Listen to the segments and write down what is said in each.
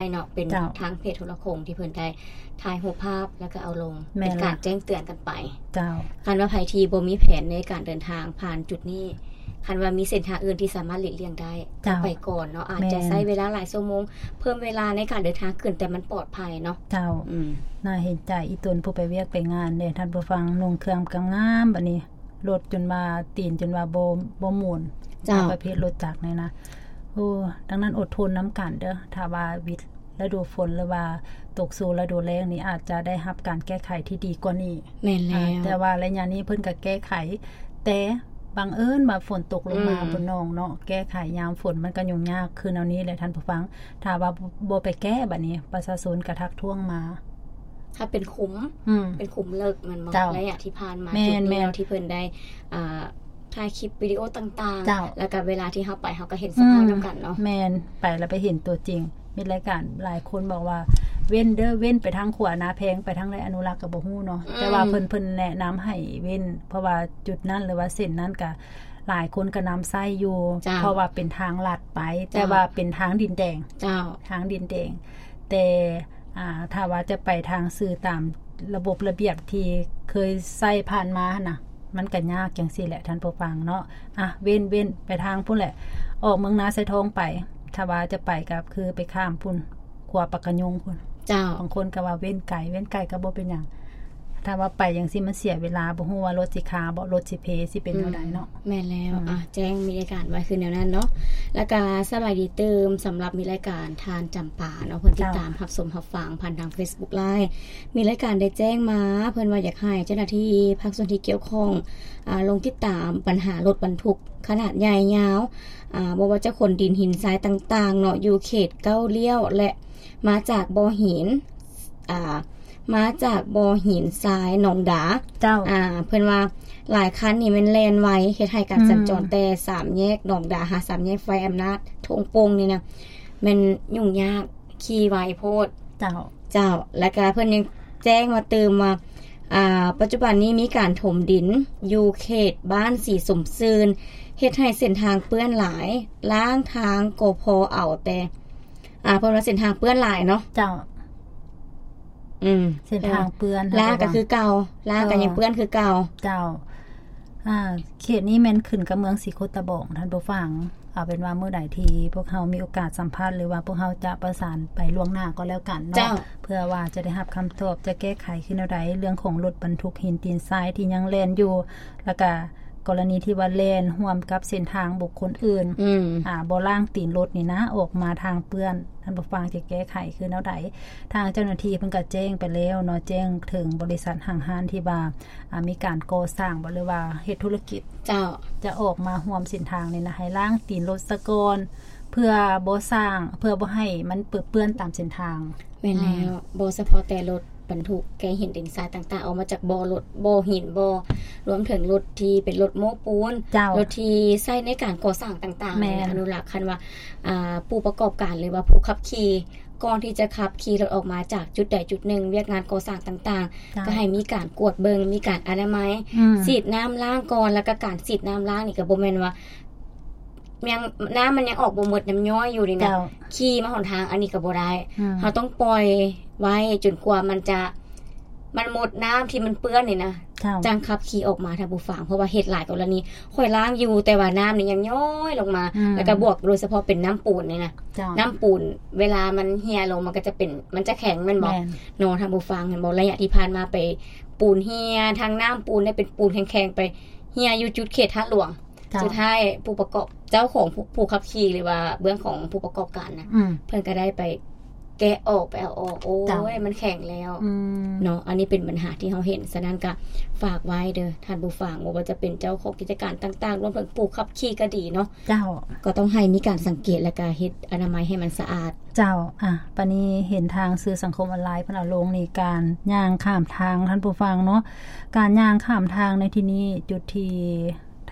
ເນາະ ເປັນ ເຈົ້າ ທາງເພຈໂທລະໂຂ່ງທີ່ເພິ່ນໄດ້ຖ່າຍຮູບພາບ ແລ້ວກໍເອົາລົງ ແມ່ນ ເປັນການ ລະ ແຈ້ງເຕືອນກັນໄປ. ເຈົ້າ. ຄັນວ່າໃຜທີ່ບໍ່ມີແຜນໃນການເດີນທາງຜ່ານຈຸດນີ້ ຄັນວ່າມີເສັ້ນທາງອື່ນທີ່ສາມາດຫຼີກລ່ຽງໄດ້ ເຈົ້າ ກໍໄປກ່ອນເນາະ ອາດຈະ ແມ່ນ ໃຊ້ເວລາຫຼາຍຊົ່ວໂມງ ເພີ່ມເວລາໃນການເດີນທາງຂຶ້ນ ແຕ່ມັນປອດໄພເນາະ. ເຈົ້າ. ອືມ. ໜ້າເຫັນໃຈອີ່ຕົນຜູ້ໄປວຽກໄປງານເດ້ ທ່ານຜູ້ຟັງ, ນຸ່ງເຄື່ອງກະງາມ ບາດນີ້ລົດຈົນວ່າ ຕີນຈົນວ່າບໍ່ ບໍ່ໝູນ. ເຈົ້າ. ປະເພດລົດຈັກນີ້ນະ. ໂອ້ ດັ່ງນັ້ນອົດທົນນຳກັນເດີ້ ຖ້າວ່າວິດ ລະດູຝົນ ຫຼືວ່າຕົກສູ່ລະດູແລ້ງນີ້ ອາດຈະໄດ້ຮັບການແກ້ໄຂທີ່ດີກວ່ານີ້. ແມ່ນແລ້ວ. ອາ ແຕ່ວ່າໄລຍະນີ້ເພິ່ນກໍແກ້ໄຂ ແຕ່ບັງເອີນວ່າຝົນຕົກລົງມາ ອືມ ບົນໜອງເນາະ ແກ້ໄຂຍາມຝົນມັນກໍຫຍຸ້ງຍາກຄືແນວນີ້ແຫຼະທ່ານຜູ້ຟັງ. ຖ້າວ່າບໍ່ໄປແກ້ ບາດນີ້ປະຊາຊົນກໍທັກທ້ວງມາ. ຖ້າເປັນຂຸມ ອືມ ເປັນຂຸມເລິກແມ່ນບໍ່? ເຈົ້າ. ໄລຍະທີ່ຜ່ານມາ ແມ່ນ ຈຸດນີ້ເນາະ ແມ່ນ ທີ່ເພິ່ນໄດ້ ອ່າ ຖ່າຍຄລິບວິດີໂອຕ່າງໆ ເຈົ້າ ແລ້ວກໍເວລາທີ່ເຮົາໄປ ເຮົາກໍເຫັນສະພາບ ອືມ ນຳກັນເນາະ. ແມ່ນ ໄປແລ້ວໄປເຫັນຕົວຈິງ. ມິດລາຍການຫຼາຍຄົນບອກວ່າ ເວັ້ນເດີ້ ເວັ້ນໄປທາງຂົວນາແພງ ໄປທາງໃດອະນຸລັກກໍບໍ່ຮູ້ເນາະ. ອືມ. ແຕ່ວ່າເພິ່ນ ເພິ່ນແນະນຳໃຫ້ເວັ້ນ ເພາະວ່າຈຸດນັ້ນ ຫຼືວ່າເສັ້ນນັ້ນກໍຫຼາຍຄົນກໍນຳໃຊ້ຢູ່ ເຈົ້າ ເພາະວ່າເປັນທາງລັດໄປ ເຈົ້າ ແຕ່ວ່າເປັນທາງດິນແດງ. ເຈົ້າ. ທາງດິນແດງ ແຕ່ ອ່າ ຖ້າວ່າຈະໄປທາງຊື່ຕາມລະບົບລະບຽບທີ່ເຄີຍໃຊ້ຜ່ານມາຫັ້ນນະ ມັນກໍຍາກຈັ່ງຊີ້ແຫຼະທ່ານຜູ້ຟັງເນາະ. ອ່ະ ເວັ້ນ ເວັ້ນໄປທາງພຸ້ນແຫຼະ ອອກເມືອງນາຊາຍທອງໄປ. ຖ້າວ່າຈະໄປກໍຄືໄປຂ້າມພຸ້ນ ຂົວປາກກະຍງພຸ້ນ. ເຈົ້າ. ບາງຄົນກໍວ່າເວັ້ນໄກ ເວັ້ນໄກກໍບໍ່ເປັນຫຍັງ. ຖ້າວ່າໄປຈັ່ງຊີ້ມັນເສຍເວລາ ບໍ່ຮູ້ວ່າລົດຊິຄາບໍ່ ລົດຊິເພ ຊິເປັນແນວໃດເນາະ. ອືມ ແມ່ນແລ້ວ. ອືມ ອ່ະ ແຈ້ງມິດລາຍການໄວ້ຄືແນວນັ້ນເນາະ. ແລ້ວກະສະບາຍດີຕື່ມ ສຳລັບມິດລາຍການທ່ານຈຳປາເນາະ ເພິ່ນຕິດຕາມ ເຈົ້າ ຮັບຊົມຮັບຟັງຜ່ານທາງ Facebook Live. ມິດລາຍການໄດ້ແຈ້ງມາ ເພິ່ນວ່າຢາກໃຫ້ເຈົ້າໜ້າທີ່ພາກສ່ວນທີ່ກ່ຽວຂ້ອງ ອ່າ ລົງຕິດຕາມບັນຫາລົດບັນທຸກຂະໜາດໃຫຍ່ຍາວ ອ່າ ບໍ່ວ່າຈະຂົນດິນຫີນຊາຍຕ່າງໆເນາະ ຢູ່ເຂດເກົ້າລ້ຽວ ແລະ ມາຈາກບໍ່ຫີນ ອ່າ ມາຈາກບໍ່ຫີນຊາຍໜອງດາ. ເຈົ້າ. ອ່າ ເພິ່ນວ່າຫຼາຍຄັນນີ້ແມ່ນແລ່ນໄວ ເຮັດໃຫ້ການ ອືມ ສັນຈອນແຕ່ສາມແຍກໜອງດາຫາສາມແຍກໄຟອຳນາດທົ່ງໂປ່ງນີ້ນະ ແມ່ນຫຍຸ້ງຍາກ ຂີ່ໄວໂພດ. ເຈົ້າ. ເຈົ້າ. ແລ້ວກະເພິ່ນຍັງແຈ້ງມາຕື່ມວ່າ ອ່າ ປັດຈຸບັນນີ້ມີການຖົມດິນຢູ່ເຂດບ້ານສີສົມຊື່ນ ເຮັດໃຫ້ເສັ້ນທາງເປື້ອນຫຼາຍ ລ້າງທາງກໍພໍເອົາແຕ່ ອ່າ ເພິ່ນວ່າເສັ້ນທາງເປື້ອນຫຼາຍເນາະ. ເຈົ້າ. ອືມ ເສັ້ນທາງເປື້ອນ ລ້າງກໍຄືເກົ່າ ລ້າງກໍຍັງເປື້ອນຄືເກົ່າ. ເຈົ້າ. ອ່າ ເຂດນີ້ແມ່ນຂຶ້ນກັບເມືອງສີໂຄດຕະບອງ ທ່ານຜູ້ຟັງ. ເອົາເປັນວ່າມື້ໃດທີ່ພວກເຮົາມີໂອກາດສຳພາດ ຫຼືວ່າພວກເຮົາຈະປະສານໄປລ່ວງໜ້າກໍແລ້ວກັນເນາະ. ເຈົ້າ. ເພື່ອວ່າຈະໄດ້ຮັບຄຳຕອບ ຈະແກ້ໄຂຄືແນວໃດ ເລື່ອງຂອງລົດບັນທຸກຫີນຕີນຊາຍທີ່ຍັງແລ່ນຢູ່ ແລ້ວກະ ກໍລະນີທີ່ວ່າແລ່ນຮ່ວມກັບເສັ້ນທາງບຸກຄົນອື່ນ ອືມ ອ່າ ບໍ່ລ້າງຕີນລົດນີ້ນະ ອອກມາທາງເປື້ອນ ທ່ານຜູ້ຟັງຈະແກ້ໄຂຄືແນວໃດ? ທາງເຈົ້າໜ້າທີ່ເພິ່ນກໍແຈ້ງໄປແລ້ວເນາະ ແຈ້ງເຖິງບໍລິສັດຫ້າງຮ້ານທີ່ວ່າ ອ່າ ມີການກໍ່ສ້າງບໍ່ ຫຼືວ່າເຮັດທຸລະກິດ ເຈົ້າ ຈະອອກມາຮ່ວມເສັ້ນທາງນີ້ນະ ໃຫ້ລ້າງຕີນລົດສາກ່ອນ ເພື່ອບໍ່ສ້າງ ເພື່ອບໍ່ໃຫ້ມັນເປິເປື້ອນຕາມເສັ້ນທາງ. ແມ່ນແລ້ວ. ອືມ ບໍ່ສະເພາະແຕ່ລົດບັນທຸກແກ່ຫີນດິນຊາຍຕ່າງໆ ອອກມາຈາກບໍ່ລົດ ບໍ່ຫີນ ບໍ່ ລວມເຖິງລົດທີ່ເປັນລົດໂມ້ປູນ ເຈົ້າ ລົດທີ່ໃຊ້ໃນການກໍ່ສ້າງຕ່າງໆ ແມ່ນ ອະນຸລັກ ຄັນວ່າ ອ່າ ຜູ້ປະກອບການ ຫຼືວ່າຜູ້ຂັບຂີ່ ກ່ອນທີ່ຈະຂັບຂີ່ລົດອອກມາຈາກຈຸດໃດຈຸດໜຶ່ງ ວຽກງານກໍ່ສ້າງຕ່າງໆ ເຈົ້າ ກໍໃຫ້ມີການກວດເບິ່ງ ມີການອະນາໄມ ອືມ ສີດນ້ຳລ້າງກ່ອນ ແລ້ວກໍການສີດນ້ຳລ້າງນີ້ກໍບໍ່ແມ່ນວ່າ ຍັງ ນ້ຳມັນຍັງອອກບໍ່ໝົດ ນ້ຳຍ້ອຍຢູ່ນີ້ນະ ເຈົ້າ ຂີ່ມາຫົນທາງອັນນີ້ກໍບໍ່ໄດ້ ອືມ ເຮົາຕ້ອງປ່ອຍໄວ້ຈົນກວ່າມັນຈະ ມັນໝົດນ້ຳທີ່ມັນເປື້ອນນີ້ນະ ເຈົ້າ ຈັ່ງຂັບຂີ່ອອກມາ ທ່ານຜູ້ຟັງ ເພາະວ່າເຮັດຫຼາຍກໍລະນີ ຂ້ອຍລ້າງຢູ່ ແຕ່ວ່ານ້ຳນີ້ຍັງຍ້ອຍລົງມາ ອືມ ແລ້ວກໍບວກໂດຍສະເພາະເປັນນ້ຳປູນນີ້ນະ ເຈົ້າ ນ້ຳປູນເວລາມັນເຫ່ຍລົງ ມັນກໍຈະເປັນ ມັນຈະແຂງແມ່ນບໍ່? ແມ່ນ ເນາະ ທ່ານຜູ້ຟັງ ເຫັນບໍ່? ໄລຍະທີ່ຜ່ານມາໄປ ປູນເຫ່ຍ ທັງນ້ຳປູນໄດ້ເປັນປູນແຂງໆ ໄປເຫ່ຍຢູ່ຈຸດເຂດທາດຫຼວງ ເຈົ້າ ສຸດທ້າຍຜູ້ປະກອບ ເຈົ້າຂອງຜູ້ ຜູ້ຂັບຂີ່ ຫຼືວ່າເບື້ອງຂອງຜູ້ປະກອບການນະ ອືມ ເພິ່ນກໍໄດ້ໄປແກະອອກ ໄປເອົາອອກ ໂອ້ຍ ເຈົ້າ ມັນແຂງແລ້ວ ອືມ ເນາະ ອັນນີ້ເປັນບັນຫາທີ່ເຮົາເຫັນ. ສະນັ້ນກໍຝາກໄວ້ເດີ້ທ່ານຜູ້ຟັງ ບໍ່ວ່າຈະເປັນເຈົ້າຂອງກິດຈະການຕ່າງໆ ລວມເຖິງຜູ້ຂັບຂີ່ກໍດີເນາະ ເຈົ້າ ກໍຕ້ອງໃຫ້ມີການສັງເກດ ແລ້ວກໍເຮັດອະນາໄມໃຫ້ມັນສະອາດ. ເຈົ້າ. ອ່ະ ປານນີ້ເຫັນທາງສື່ສັງຄົມອອນລາຍເພິ່ນເອົາລົງນີ້ ການຍ່າງຂ້າມທາງ ທ່ານຜູ້ຟັງເນາະ ການຍ່າງຂ້າມທາງໃນທີ່ນີ້ ຈຸດທີ່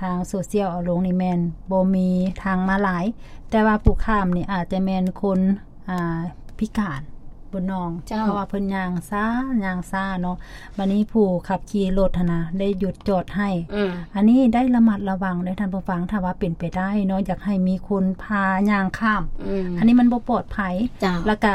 ທາງໂຊຊຽວເອົາລົງນີ້ແມ່ນບໍ່ມີທາງມ້າລາຍ ແຕ່ວ່າຜູ້ຂ້າມນີ້ອາດຈະແມ່ນຄົນ ອ່າ ພິການ ເພ ບົນໜອງ ເຈົ້າ ເພາະວ່າເພິ່ນຍ່າງຊ້າ ຍ່າງຊ້າເນາະ. ບາດນີ້ຜູ້ຂັບຂີ່ລົດຫັ້ນນະ ໄດ້ຢຸດຈອດໃຫ້ ອືມ ອັນນີ້ໄດ້ລະມັດລະວັງເດີທ່ານຜູ້ຟັງ. ຖ້າວ່າເປັນໄປໄດ້ເນາະ ຢາກໃຫ້ມີຄົນພາຍ່າງຂ້າມ ອືມ ອັນນີ້ມັນບໍ່ປອດໄພ ເຈົ້າ ແລ້ວກະ